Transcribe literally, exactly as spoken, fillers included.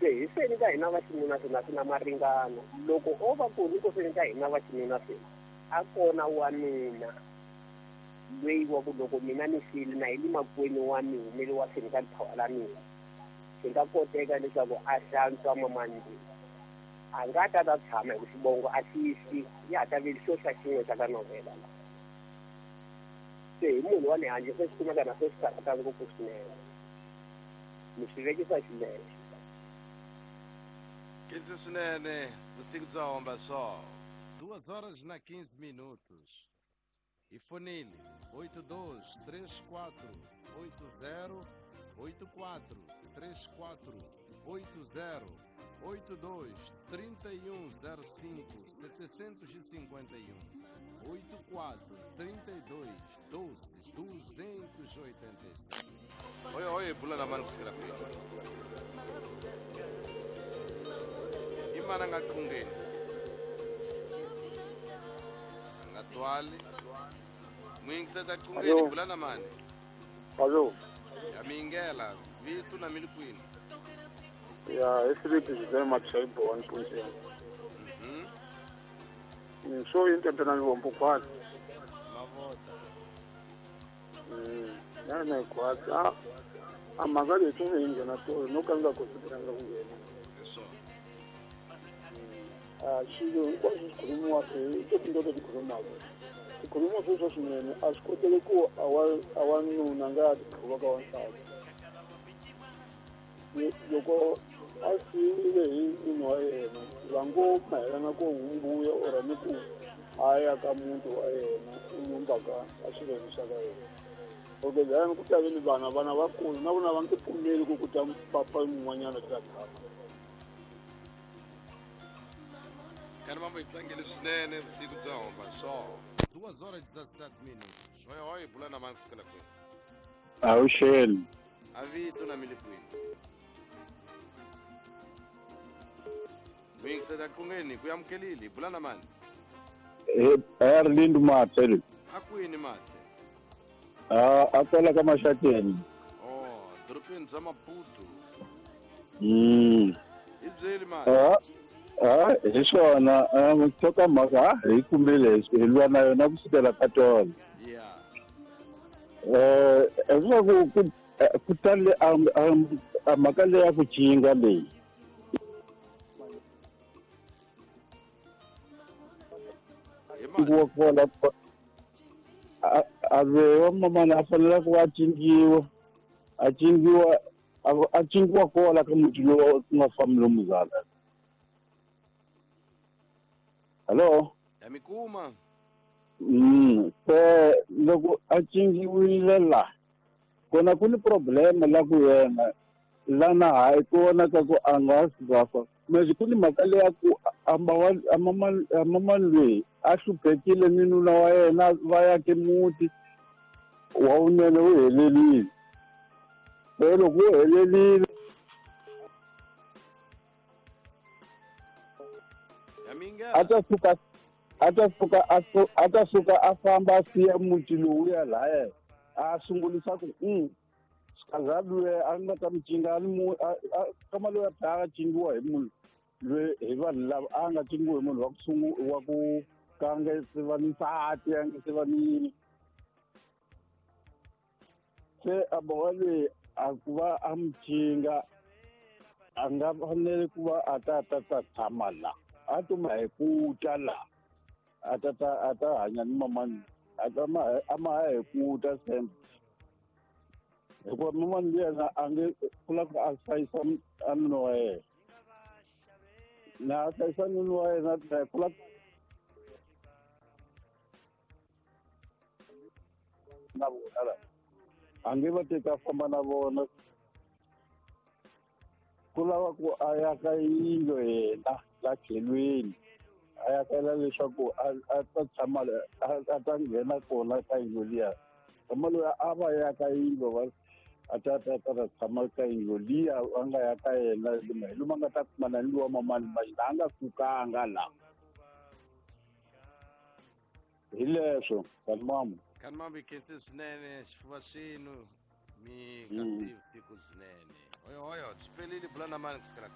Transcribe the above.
Se hi seni ka hina va xinuna se na swi na maringano. Loko o va ku ri ko seni ka hina va xinuna se a kona wanuna loyi wa ku loko mina ni file na hi le makwenu wa mina le wa seni ka lithawa la mina swi nga koteka leswaku a hlantswa mamani loyi a nga ta ta tshama hi ku xivongo a xi fi ya ha ta veli xo xa xin'we xa ka novhela la. Se hi munhu wa le handle se swi kumeka na se swi karhata ngopfu swinene ni swi vekisa xileswo. Khensi swinene vusiku bya homba swo duas horas na quinze minutos. E fonile oito dois três quatro oito zero oito quatro três quatro oito zero oito dois trinta e um zero cinco setecentos e cinquenta e um oito quatro trinta e dois doze duzentos e oitenta e seis. Oi, oi, bula na mano kusukela kwini. Imana nga qhungeni. Nga twali. Muyingiseta qhungeni bula na mani. Allo. Ya mingela vitu na mili kwini. Ya, esibiti zizwe matshayibo one point eight. Mhm. So into tena ngombo kwani. Mavota. Mm, na na kwaza. Amagari tunge na to no kanga kusitiranga kungena. Eso. Ah, xilo hinkwaswo swi khulumiwaka hi tinto leti khulumaka. Tikhuluma sweswo swinene a swi koteki ku a wa a wanuna nga tikhuva ka wansati. Loko a siyiwile hi nuna wa yena va ngo mayelana ku humbuya or ni ku a ya ka muti wa yena u nyumbaka a xilweni xa ka yena. Okay, then ku ta ve ni vana vana vakulu na vona va nge pfumeli ku ku ta papa yin'wanyana ta tshama. Kani mambo yi tlangele swinene vusiku bya homba swo duas horas e dezessete minutos. Oi, oi, bula na mani kusukela kwini. Awuxeni. A vito na mili kwini. Muyingiseta qhungeni ku amukelile bula na mani. Eh, Erlind Mathe. A kwini Mathe? Ah, a kwala ka Maxakeni. Oh, dorobeni bya Maputo. Mm. Hi byeli Mathe. Ah, ah, hi swona, ah, mhaka hi kumile hi lwa na yona kusukela ka tolo. Yeah. Eh, leswaku ku ku tale a mhaka leyi ya ku cinga leyi. Wa kwala a ve mamana a fanele ku a cingiwa a cingiwa a cingiwa kwala ka muti lowu ku nga fambi lomuzala. Hello? Ya mi kuma. Mm, se loko a cingiwile la kona ku ni problema la ku yena lana hayi ku vonaka ku a nga swi manje ku ni mhaka leyi ya ku a mamani loyi a hluphekile ni nuna wa yena va yake muti wa wunene wu helelile. Se loko wu helelile a ta suka a ta suka a ta suka a famba a siya muti lowuya lahaya a sungulisa ku mm kaza loyi a nga ta mi cinga a ni kama loyi a tlhela a cingiwa hi munhu loyi hi vanhu lava a nga cingiwi hi munhu wa ku sungu wa ku ka nga se va ni nsati a nga se va ni yini. Se a boha loyi a ku va a mi cinga a nga fanele ku va a ta ta ta tshama la a tuma hi ku ta la a ta ta a ta hanya ni mamani a ta ma a ma hi ku ta sembe hikuva mamani yena a nge ku lava ku a hlayisa a nuna wa yena na a hlayisa nuna wa yena ku lava na vona la a nge va teki a famba na vona ku lava ku a ya ka yindlu yena la tlhelweni a ya kela leswaku a ta tshama a ta nghena kona ka yindlu liya kama loyi a va ya ka yindlu va a ta ta ta ta tshama ka yindlu liya a nga ya ka yena hi lomu a nga ta kumana ni lowa mamani ma a nga sukanga la hi leswo kanimama kanimama khensi swinene xifuva xinu mi nga siyi vusiku byinene. Oyo oyo swi pelile bula na mani kusukela